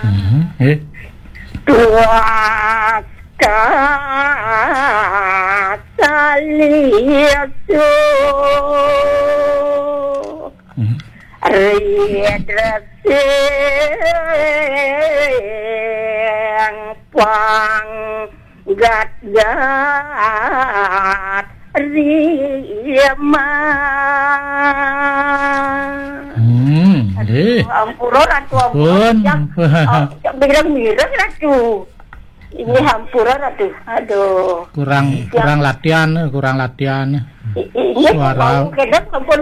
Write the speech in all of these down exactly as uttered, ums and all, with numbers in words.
Mhm. Eh. Tuas kasalisu. Mhm. Ridresing panggat-gat rima. Hmm, nggih. Ampura, Ratu, ampura. Pun. Yang, oh, yang mireng-mireng, Ratu. Ini hampura, Ratu. Aduh. Kurang, kurang latihan, kurang latihan. I-, i-, ini suara. Mau kedap, ampun,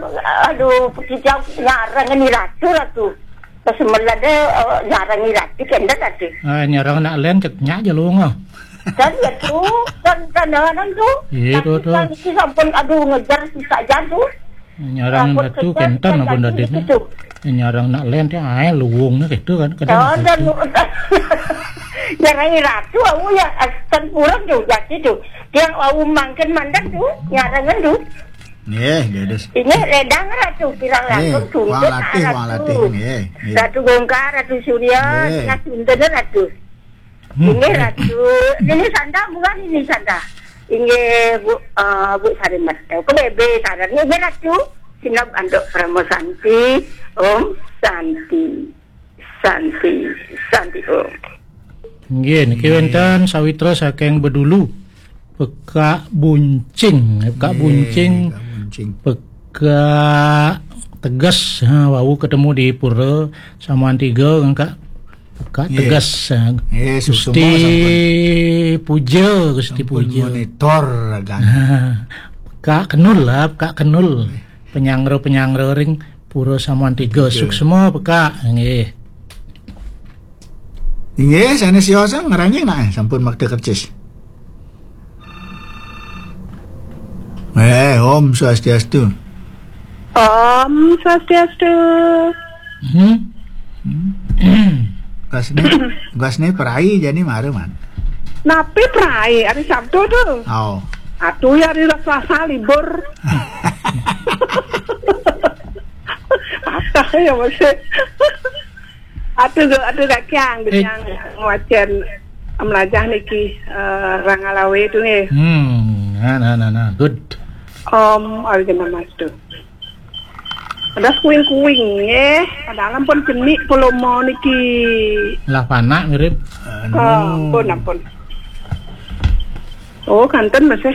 aduh, kita nyarang ini, Ratu, Ratu. Pas melade, eh, nyarang ini, Ratu, kendel, Ratu. Eh, nyarang nak len, ket nyak aja lu, nggak? Dan, Ratu, dan, dan, dan, dan, tuh. Iya, tuh, tuh. Kan, sampun, aduh, ngejar, susah aja, tuh. Nyarang Ratu kenten apa ndadi? Nyarang nak len, ae luwung gitu kan. Kadang dan nyarang Ratu, aku ya, kan kurang tuh, jadi tuh. Dia aku mangken mandan tuh, nyarangan tuh. Nggih, dados. Ini ledang Ratu, pirang Nggih, langkung wong tuntut latih, wong Ratu. Latih, nggih, nggih. Ratu Bongkar, Ratu Surya, Nggih. Ratu Benten, Ratu. Hmm. Ini Ratu, ini Santa, bukan ini Santa. Ini Bu, eh, Bu Sari Metu. Ke bebe Sari, ini Ratu. Sinab antuk Parama Santi, Om Santi, Santi, Santi Om. Nggih, niki wenten sawitra saking Bedulu. Pekak Buncing, Pekak Nggih, Buncing. Pekak Buncing. Pekak Teges, ha, wau ketemu di Pura Samuan Tiga, Kak. Pekak Nggih. Teges, ha. Nggih, Gusti suksma sampun. Puja, Gusti Sampun Puja. Monitor, kan. Pekak Kenul lah, Pekak Kenul. Nggih. Penyangro-penyangro ring Pura Samuan Tiga. Tiga. Suksma, Pekak. Nggih. Inggih, sanes siosa ngranjing nak, eh, sampun makta kercis. Eh, Om Swastiastu. Om Swastiastu. Hmm? Hmm. Gasne, gasne prai jani mara, Man. Napi prai? Hari Sabtu tuh. Oh. Atuh ya hari Selasa libur. Patah ya masih. Atuh, atuh Kak Kiang, Eh. Kiang ngwacen melajah niki, eh, Rangalawe tu nggih. Hmm, nah, nah, nah, nah. Good. Om Awighnamastu. Ada kuing-kuing nggih. Padahal pun cenik polomo niki. Lah panak mirip. Oh, ampun, ampun. Oh, kanten masih.